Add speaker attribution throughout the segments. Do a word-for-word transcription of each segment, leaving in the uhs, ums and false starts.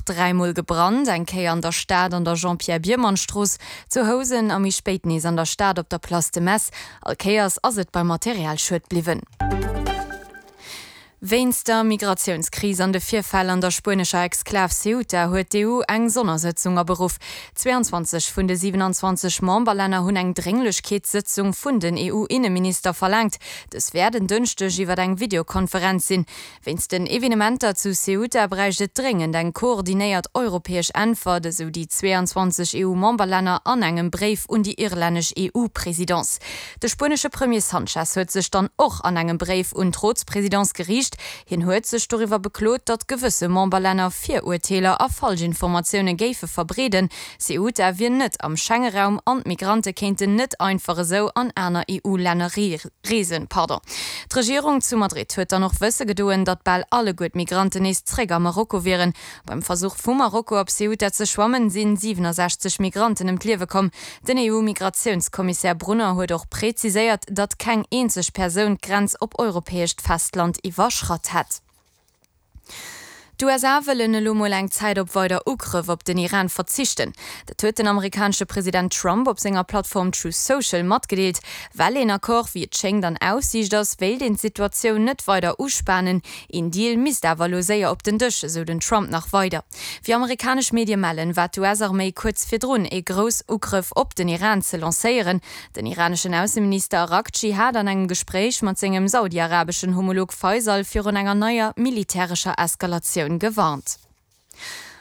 Speaker 1: dräi Mol gebrannt, eng Kéier an der Stad an der Jean-Pierre Biermann-Strooss, zu Housen a méi spéit nees an der Stad op der Place de Metz. All Kéiers ass et beim Materialschued bliwwen. Wéinst der Migratiounskris an de Virfäll an der spuenescher Exklav Ceuta huet d'EU eng Sonnersëtzung aberuff. zweiundzwanzeg vun de siewenundzwanzeg Memberlänner hunn eng Drénglechkeetssëtzung vun den EU-Inneminister verlaangt. Dës wäert en Dënschdeg iwwer eng Videokonferenz sinn. Wéinst den Evenementer zu Ceuta bräicht et dréngend eng koordinéiert europäesch Äntwert, esou déi zweiundzwanzeg EU-Memberlänner an engem Bréif un déi irlännesch EU-Presidence. De spuenesche Premier Sanchez huet sech dann och an engem Bréif un d'Rotspresidence geriicht. Hien huet sech doriwwer beklot, datt gewësse Memberlänner Virurteeler a Falschinformatioune géife verbreeden. Ceuta wier net am Schengeraum an d'Migrante kéinten net einfach esou an aner EU-Länner reesen. D'Regierung zu Madrid huet dann och wësse gedoen, datt bal alleguer d'Migranten nees zréck a Marokko wieren. Beim Versuch vu Marokko op Ceuta ze schwammen, si siewenundsechzeg Migranten ëm d'Liewe komm. Den EU-Migratiouns-Kommissär Brunner huet och präziséiert, datt keng eenzeg Persoun d'Grenz op europäescht Festland iwwerschratt hätt. D'USA wëllen elo mol eng Zäit op weider Ugrëff op den Iran verzichten. Dat huet den amerikanesche President Trump op senger Plattform Truth Social matgedeelt. Well een Accord wéi et schéngt an Aussiicht ass, wéilt een d'Situatioun net weider uspanen. Een Deal misst awer elo séier op den Dësch, esou den Trump nach weider. Wéi amerikanesch Medie mellen, war d'US-Arméi kuerz virdrun, ee grouss Ugrëff op den Iran ze lancéieren. Den iraneschen Ausseminister Araghchi hat an engem Gespréich mat sengem saudiarabeschen Homolog Faisal virun enger neier militärescher Eskalatioun gewarnt.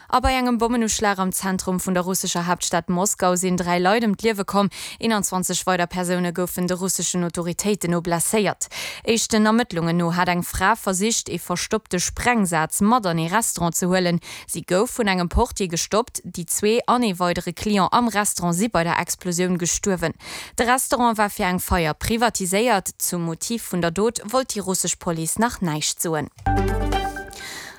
Speaker 1: A bei engem Bommenuschlag am Zentrum vun der russescher Haaptstad Moskau sinn dräi Leit ëm d'Liewe komm, eenanzwanzeg weider Persoune goufen de russeschen Autoritéiten no blesséiert. Éischten Ermëttlungen no hat eng Fra versicht, ee verstoppte Sprengsaz mat an ee Restaurant ze huelen. Si gouf vun engem Portier gestoppt. Déi zwee an ee weidere Client am Restaurant si bei der Explosioun gestuerwen. De Restaurant war fir eng Feier privatiséiert. Zum Motiv vun der Dot wollt déi russesch Police nach näischt soen.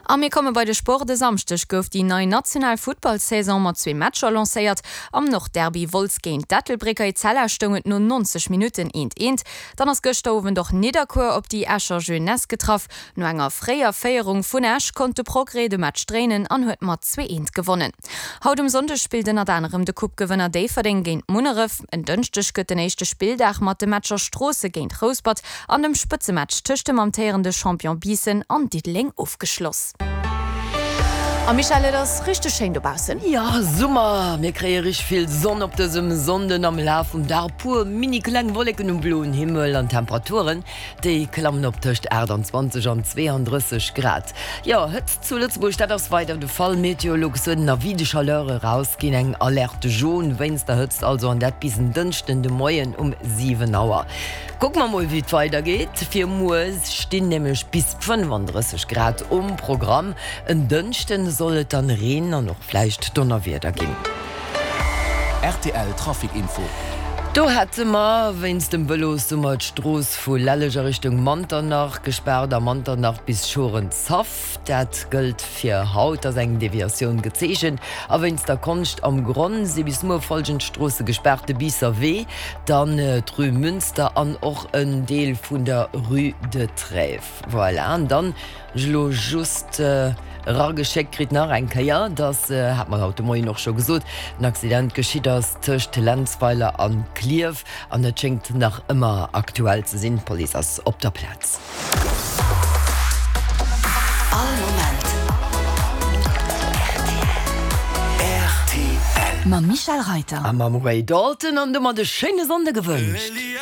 Speaker 1: A mir komme bei de Sport, E Samschdeg gouf déi nei national Futtballsaison mat zwee Matcher lancéiert. Am Nordderby Wolz géint d'Ettelbrécker Etzella stoung et no neunzeg Minutten eent eent. Dann ass gëschter Owend och Nidderkuer op déi Escher Jeunesse getraff. No enger fréier Féierung vun Esch konnt de Progrès de Match dréinen an huet mat zwee eent gewonnen. Haut um Sonndeg spillt ënnert anerem de Coupe-Gewënner Déifferdeng géint Munneref. En Dënschdeg gëtt den éischte Spilldag mat de Matcher Stroosse géint Rouspert an dem Spëtzematch tëscht dem amtéierende Champion Biissen an Diddeleng ofgeschloss. A Michèle, et ass richteg schéin dobaussen.
Speaker 2: Jo, Summer! Mir kréie richteg vill Sonn op dësem Sonnden, am Laf vum Dag e puer mini kleng Wolleken um bloen Himmel an d'Temperaturen, déi klammen op tëscht aachtanzwanzeg an zweeandrësseg Grad. Jo, Hëtzt zu Lëtzebuerg, dat ass weider de Fall. Meteolux huet en Avis de chaleur erausginn, eng Alerte jaune wéinst der Hëtzt also, an dat bis en Dënschden de Moien um siwen Auer. Kucke mer mol wéi et weider geet. Fir muer stinn nämlech bis fënnefandrësseg Grad um Programm. En Dënschden soll et dann Reen an och vläicht Donnerwieder ginn.
Speaker 3: Rtl Trafic Info.
Speaker 2: Do hätte mer wéinst dem Vëlossummer d'Strooss vu Lelleg a Richtung Manternach gespaart, a Manternach bis Schorenshaff. Dat gëllt fir haut, ass eng Deviatioun gezeechent. A wéinst der Konscht am Gronn si bis muer follgend Stroosse gespaart, de Biisser Wee, dann d'Rue Münster an och en Deel vun der Rue de Trèves. Voilà, an dann hunn ech elo just erageschéckt kritt nach eng Kéier, dass, hat mer haut de Moien och scho gesot, en Accident geschitt ass tëscht Lenzweiler a Klierf an et schéngt nach ëmmer aktuell ze sinn. D'Police ass op der Plaz.
Speaker 4: All Moment rtl. Mam Michel Reiter.
Speaker 2: A mam Ray Dalton an domat e schéine Sonnde gewënscht.